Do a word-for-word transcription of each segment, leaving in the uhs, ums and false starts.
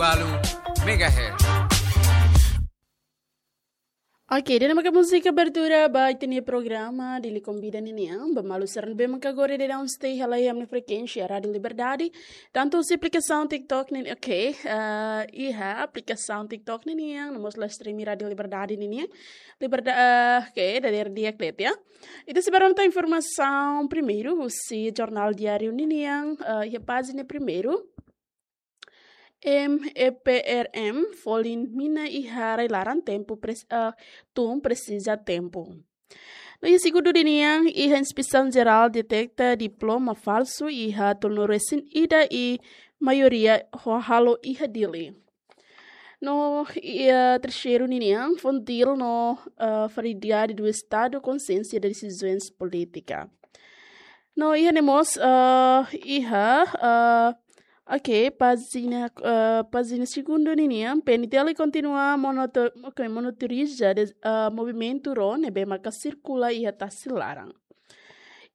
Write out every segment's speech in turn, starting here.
Balu Megahertz. Oke, ida-ne'e maka múzika abertura ba ita-nia programa Dili Konvida ninian. Ba maluk sira ne'ebé maka agora daudaun stay hela iha ami-nia frekuénsia Rádio Liberdade. Tantu husi aplikasaun TikTok ninian, oke, eh, iha aplikasaun TikTok ninian, no mós live stream Rádio Liberdade ninian. Liberdade, eh, oke, dadeer di'ak de'it, ya. Ita sei bá rona tan informasaun primeiru husi Jornál Diáriu ninian, eh, iha pájina primeiru. M E P R M folin mina iha rai-laran tempu pres-, eh, tun presiza tempu. No iha segundu ninian, iha Inspesaun Jerál deteta diploma falsu iha tolunulu-resin-ida i maioria ho halo iha Dili. No iha terseiru ninian, FONGDIL no, eh, Faridade do Estado konsiénsia de desizaun polítika. No iha ne'e mós, eh, iha, eh, oke, pájina, eh, pájina segundu ninian, PNTL kontinua monoto-, oke, monitoriza de, eh, movimentu ró ne'ebé maka sirkula iha tasi laran.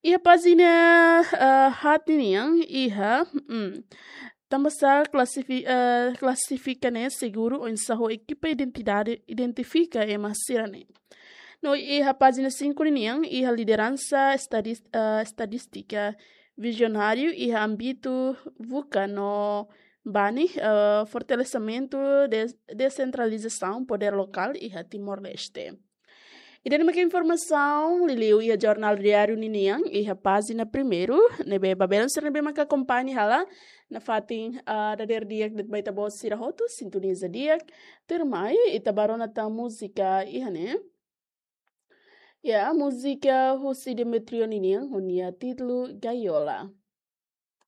Iha pájina, eh, haat ninian, iha, mm, tanbasá klasifi-, eh, klasifika ne'e seguru oinsá ho ekipa identidade identifika ema sira-ne'e. No iha pájina sinku ninian, iha lideransa estadis-, eh, estadístika vizionáriu iha ámbitu VUCA no BANI, eh, fortalesimentu de desentralizasaun podér lokál iha Timor-Leste. Ida-ne'e maka informasaun liuliu iha Jornál Diáriu ninian, iha pájina primeiru, ne'ebé ba belun sira ne'ebé maka akompaña hela nafatin, ah, dadeer di'ak de'it ba ita-boot sira hotu, sintoniza di'ak, tuirmai, ita bá rona tan múzika iha ne'e. Ya, múzika husi Demetrio ninian, ho nia títulu Gaiola.